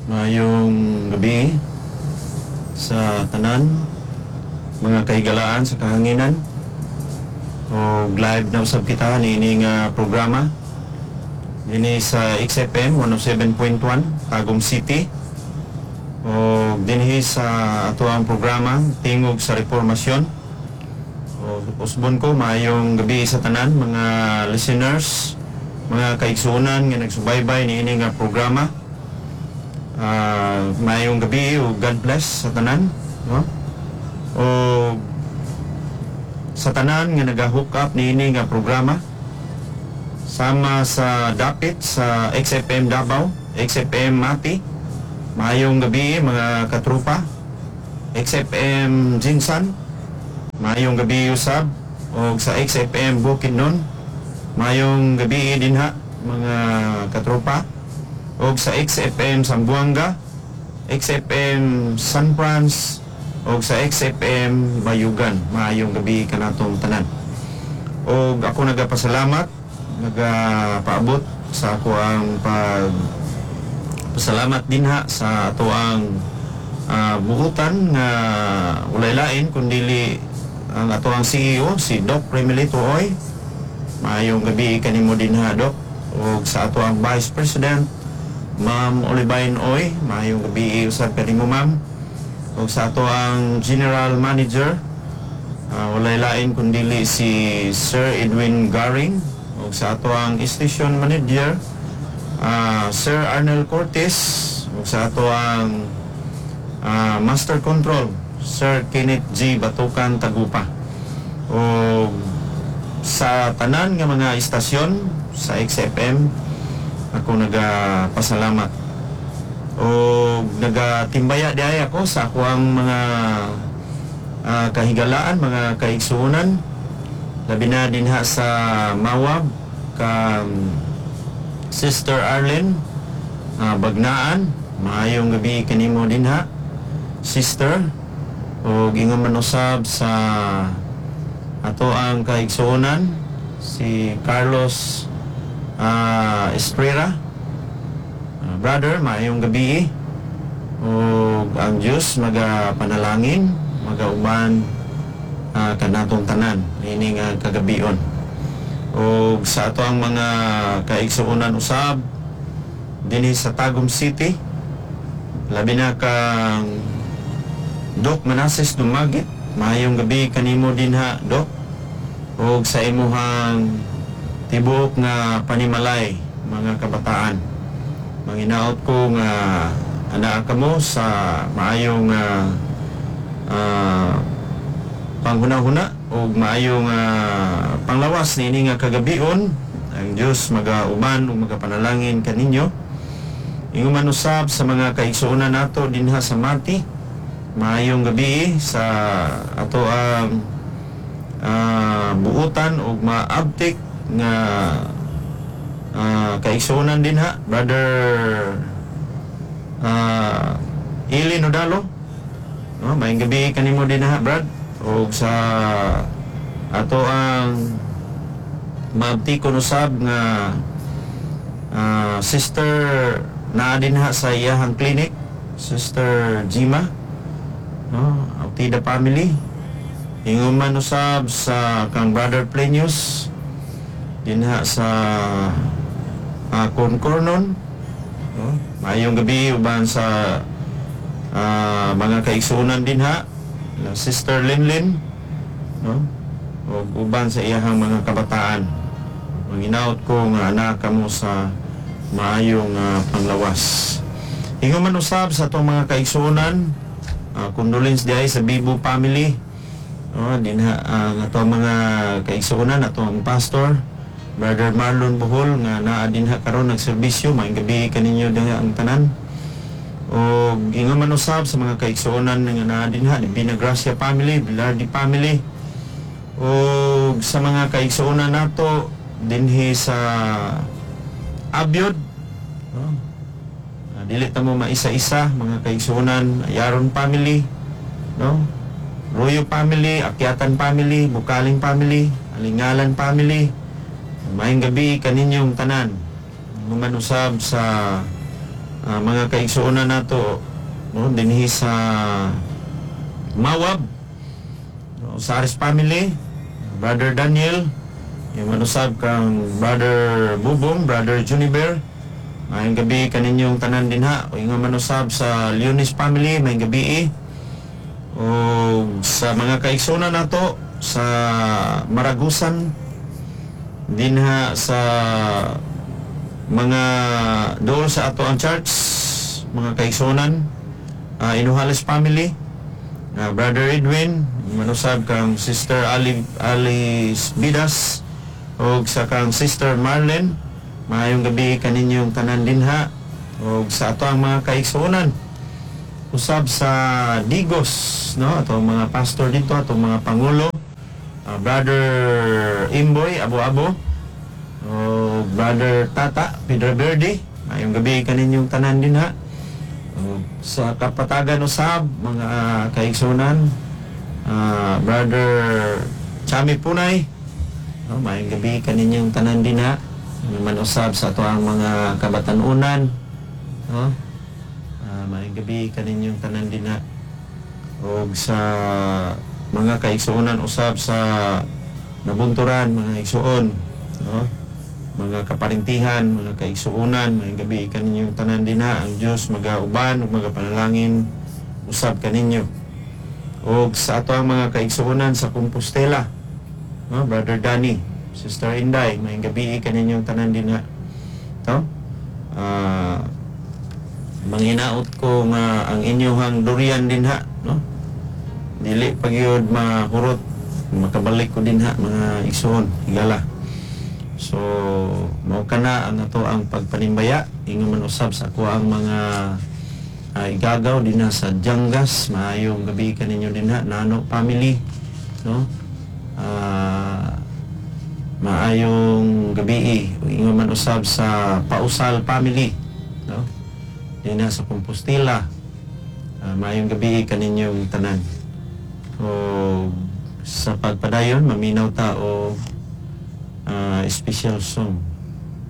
Maayong gabi sa tanan, mga kahigalaan sa kahanginan. O live na usab kita niini nga programa dinhi sa XFM 107.1 Tagum City. O dinhi sa ato ang programa Tingog sa Reformasyon. O usbon ko, maayong gabi sa tanan mga listeners, mga kaigsuonan nga nagsubaybay niini nga programa. Maayong gabi ug God bless sa tanan, no? O sa tanan nga naga-hook up niini nga programa sama sa dapit sa XFM Davao, XFM Mati. Maayong gabi, mga katrupa. XFM GenSan. Maayong gabi usab og sa XFM Bukidnon. Maayong gabi dinha, mga katropa. Og sa XFM Zamboanga, XFM San Franz og sa XFM Bayugan. Maayong gabi kanatong tanan. Og ako nagapasalamat, nagapaabot sa ako ang pag pasalamat dinha sa ato ang buhutan nga walay lain kundili ang ato ang CEO, si Doc Remelito Oy. Maayong gabi kanimo dinha, Doc. Ug sa ato ang Vice President, Ma'am Olivine Oy, maayong gabi usab kanimo, ma'am. Ug sa ato ang General Manager, walay lain kundili si Sir Edwin Garing, ug sa ato ang Station Manager, Sir Arnel Cortez, ug sa ato ang Master Control, Sir Kenneth G. Batukan Tagupa. O sa tanan nga mga istasyon sa XFM, ako nagapasalamat. O nagatimbaya diay ako sa ako ang mga kahigalaan, mga kaigsuonan, labi na dinha sa Mawab, kang Sister Arlene Bagnaan. Maayong gabi kanimo dinha, Sister. O ingon man usab sa ato ang kaigsuonan si Carlos Estrera. Brother, maayong gabi. O ang Diyos magapanalangin, magauban kanatong tanan ini nga kagabion. O sa ato ang mga kaigsuonan usab dinhi sa Tagum City, labi na kang Doc Manases Dumagit. Maayong gabi kanimo dinha, Doc. Ug sa imuhang tibuok nga panimalay, mga kabataan. Manginaot ko nga anaa kamo sa maayong panghuna-huna ug maayong panglawas niini nga kagabion. Ang Dios magauban ug magapanalangin kaninyo. Ingon man usab sa mga kaigsuonan nato dinha sa Mati. Maayong gabi sa ato ang buutan ug maabtik nga kaigsuonan dinha, Brother Ili Nodalo. No, maayong gabi kanimo dinha, Brad. Ug sa ato ang maabtikon usab nga sister naa dinha sa iyahang clinic, Sister Jima, no, Autida family. Ingon man usab sa kang Brother Plenius dinha sa Concornon, no? Maayong gabi uban sa mga kaigsuonan dinha, na Sister Linlin, no, ug uban sa iyahang mga kabataan. Manginaot ko nga anaa kamo sa maayong panglawas. Ingon man usab sa atong mga kaigsuonan, condolence diay sa Bibo family. No, dinha ang atong mga kaigsuonan, atong pastor, Brother Marlon Bohol, nga naa dinha karon nagserbisyo. Maayong gabi kaninyo dinha ang tanan. O ingon man usab sa mga kaigsuonan nga naa dinha, Divina Gracia family, Bilardi family. O sa mga kaigsuonan nato dinhi sa Abyod, no? Dili ta mo maisa-isa mga kaigsuonan, Yaron family, no? Royo family, Akyatan family, Bukaling family, Alingalan family. Maayong gabi kaninyong tanan. Ingon man usab sa Mga kaigsuonan nato, no, dinhi sa Mawab, no, sa Aris family, Brother Daniel, yung manusab kang Brother Bubong, Brother Juniper, maayong gabi kaninyong tanan dinha. O nga manusab sa Leonis family, maayong gabi. O sa mga kaigsuonan nato sa Maragusan, dinha sa mga dool sa ato ang church, mga kaigsuonan, Inuhales family, Brother Edwin, manusab kang Sister Ali, Alice Bidas, og sa kang Sister Marlene, maayong gabi kaninyong tanan dinha, og sa ato ang mga kaigsuonan usab sa Digos, no, atong mga pastor dito, atong mga pangulo, Brother Imboy Abo Abo, o Brother Tata Pedro Verde, maayong gabi kaninyong tanan dinha. O, sa Kapatagan usab, mga kaigsuonan, Brother Chami Punay, no, maayong gabi kaninyong tanan dinha. Man usab sa ato ang mga kabatanunan, no? Maayong gabi kaninyong tanan dinha. Og sa mga kaigsuonan usab sa Nabunturan, mga igsuon, no? Mga kaparintihan, mga kaigsuonan, maayong gabi kaninyong tanan dinha. Ang Dios magauban ug magapanalangin usab kaninyo. Og sa ato ang mga kaigsuonan sa Compostela, no? Brother Danny, Sister Inday, maayong gabi kaninyong tanan dinha. No? Manghinaot ko nga ang inyong durian dinha, no? Dili pa gyud mahurot, makabalik ko dinha, mga igsoon, higala. So, mao kana ang ato ang pagpanimbaya, ingon man usab sa ako ang mga igagaw dinha sa Dyangas, maayong gabi kaninyo dinha, Nano family, no? Maayong gabi, ingon man usab sa Pausal family, no? Dinha sa Compostela. Maayong gabi kaninyong tanan. O sa pagpadayon, maminaw ta o special song.